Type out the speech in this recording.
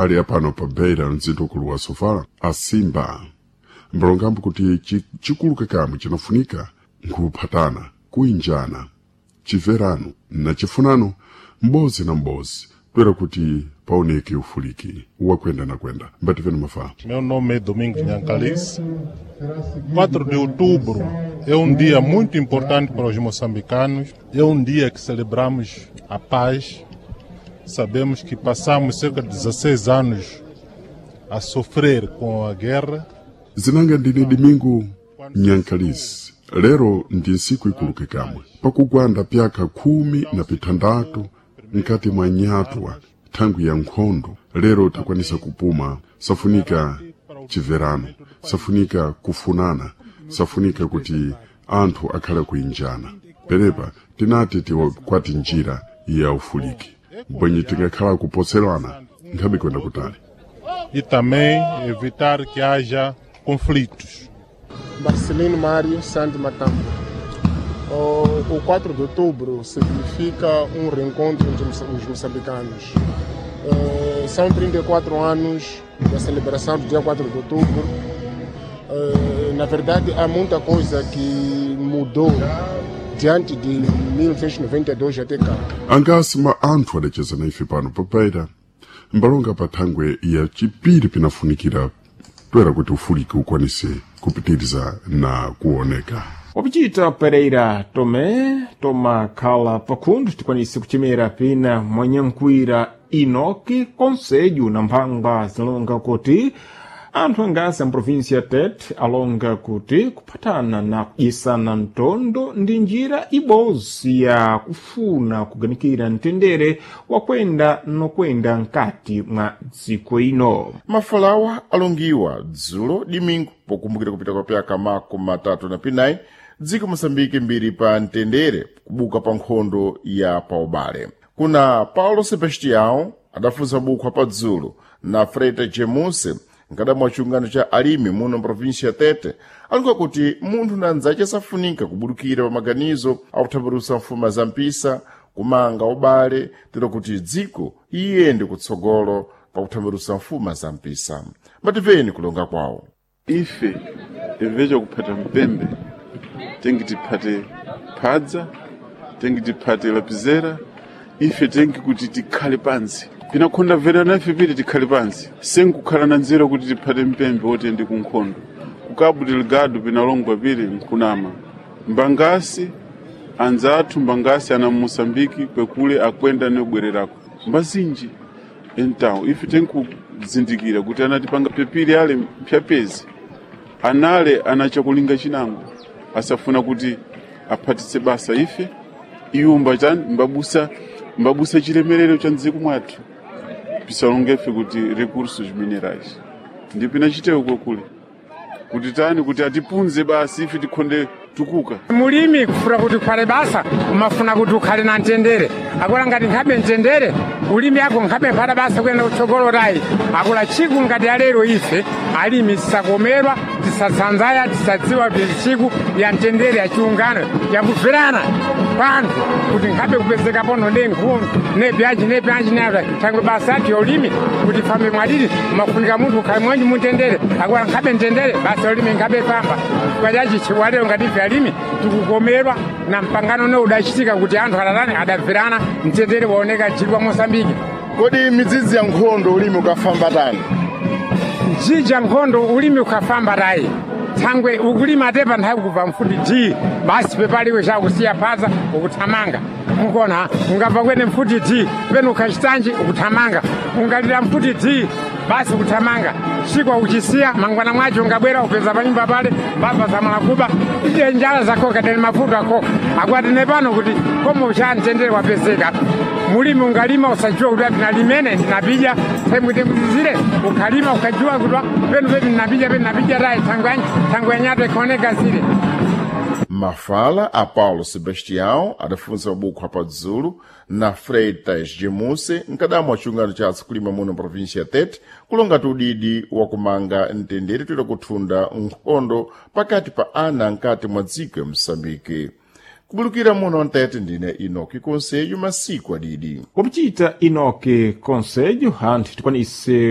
Ali apano pa Beira, mzinda ukulu wa Sofala, asimba mbalongambo kuti chikulu kamwe chinafunika nkhuphatana, kuinjana, chimverano na chifunano m'bodzi na m'bodzi toera kuti paoneke ufuliki wakwenda na kwenda. Mbativeni mafala. Meu nome é Domingos Nhancalice. 4 de outubro é um dia muito importante para os moçambicanos. É um dia que celebramos a paz. Sabemos que passamos cerca de 16 anos a sofrer com a guerra. Zinanga ndine Domingo Nyankalisi. Lero ndi ntsiku ikuluke kamwe pakugwanda pyaka 16 nkati mwa nyatwa thangwi ya nkhondo. Lero takwanisa kupuma. Safunika chimverano, safunika kufunana, safunika kuti anthu akhale kuinjana. Penepa tinati tikwati njira ya ufuliki mbwenye tingakhala kupotserana nkhabe kwenda kutali. E também evitar que haja conflitos. Marcelino Mário Santo Matambo. O 4 de outubro significa um reencontro entre os moçambicanos. São 34 anos da celebração do dia 4 de outubro. Na verdade, há muita coisa que mudou diante de 1992 até cá. Angasi ma anthu adacheza na ife pano pa Beira mbalonga pa thangwe ya chipiri pinafunikira toera kuti ufuliki ukwanise kupitiriza na kuoneka. Wapichita Pereira Tomé tomakhala pakhundu tikwanise kuchemera pina mwanyankhwira Enoque Conselho na mphangwa zilonga kuti anthu angasi a província Tete alonga kuti kuphatana na kudyisana mtondo ndi njira ibodzi ya kufuna kuganikira mtendere wakwenda nokwenda nkati mwa dziko ino. Mafalawa alongiwa dzulo dimingu pokumbukira kupita kwa pyaka 34 dziko Moçambique mbiri pa mtendere kubuka pa nkhondo ya paubale. Kuna Paulo Sebastião adafunsa bukhwa pa dzulo na Frete Jemuse nkadamwa chiungano cha alimi muno mprovinsia ya Tete alonga kuti munthu na nzace safunika kubudukira pa maganizo akuthambirusa mfuma za mpisa kumanga ubale tero kuti dziko iyende kutsogolo pakuthambirusa mfuma za mpisa. Mbatimveni kulonga kwawo. Ife imveca kuphata mpembe tengi tiphate phadza, tengi tiphate lapizera, ife tengi kuti tikhale pansi pinakhonda verana ife piti tikhale pansi senkukhala na nzeru kuti tiphate mpembe wotiyende ku nkhondo. Ku Cabo Delgado pinalongwa pili nkhunama mbangasi anzathu mbangasi ana Moçambique kwekule akwenda nobwererako mbazinji. Então ife tenkuzindikira kuti anatipanga pepiri ale mpyapezi anale anachakulinga chinango asafuna kuti aphatitse basa ife iwo mbachani mbabusa chilemerero cha mdziko mwathu pisalongefe kuti recursos minerais ndipo inachitewo kwekule kuti tani kuti atipunze basi ife tikhonde tukuka. Mulimi kufuna kuti ukhale basa umafuna kuti ukhale na mtendere. Akula ngati nkhabe mtendere ulimi ako nkhabe mphata basa kuyenda kutsogolo tayi. Akula tsiku ngati alero ife alimi tisakomerwa, tisatsanzaya, tisadziwa kuti tsiku ya mtendere ya chiungano yakubverana panthu kuti nkhabe kupezeka pono ne nkhuno ne byanji ne byanji nata thangwe basa athu ya ulimi kuti fambe mwalili umafunika munthu ukhale mwenji mutendere. Akula nkhabe mtendere basa ulimi nkhabe pamba kwachachi chiwalero ngati ife alimi tikukomerwa na mpangano ne udachitika kuti anthu atatani adabverana mtendere waoneka dziko wa Mosambiki. Kodi midzidzi ya nkhondo ulimi ukafamba tani? Njija nkhondo ulimi ukafamba tayi thangwe ukulima tepa nthawi kubva mfuti d basi pepaliwe chakusiya phaza ukuthamanga mukona ungabva kwene mfuti d pene ukhachitanji ukuthamanga ungalira mfuti d basi ukuthamanga chikwa uchisiya mangwana mwacho ungabwera upeza panyumba pale mbava zamalakuba ije njala zakhoka tene mafuta akhoka akwatine pano kuti komo cha mtendere wapezeka. Mulimi ungalima usajiwa kuti ndinalimene ndinapija themwitenguzizire ukhalima ukajiwa kuti penu pepi ndinapija penu ndinapija tayi thangwe yanyato ikhaoneka zile. Mafala a Paulo Sebastião adafunsa mabuku apadzulu na Freitas Gemuse mkadamwa wa chiungano cha atsukulima muno província ya Tete kulongati udidi wakumanga mtendere toera kuthunda nkhondo pakati pa ana nkati mwa dziko ya Moçambique. Kubulukira muno Ntete ndine Enoque Conselho masiku adidi. Wapichita Enoque Conselho anthu tikwanise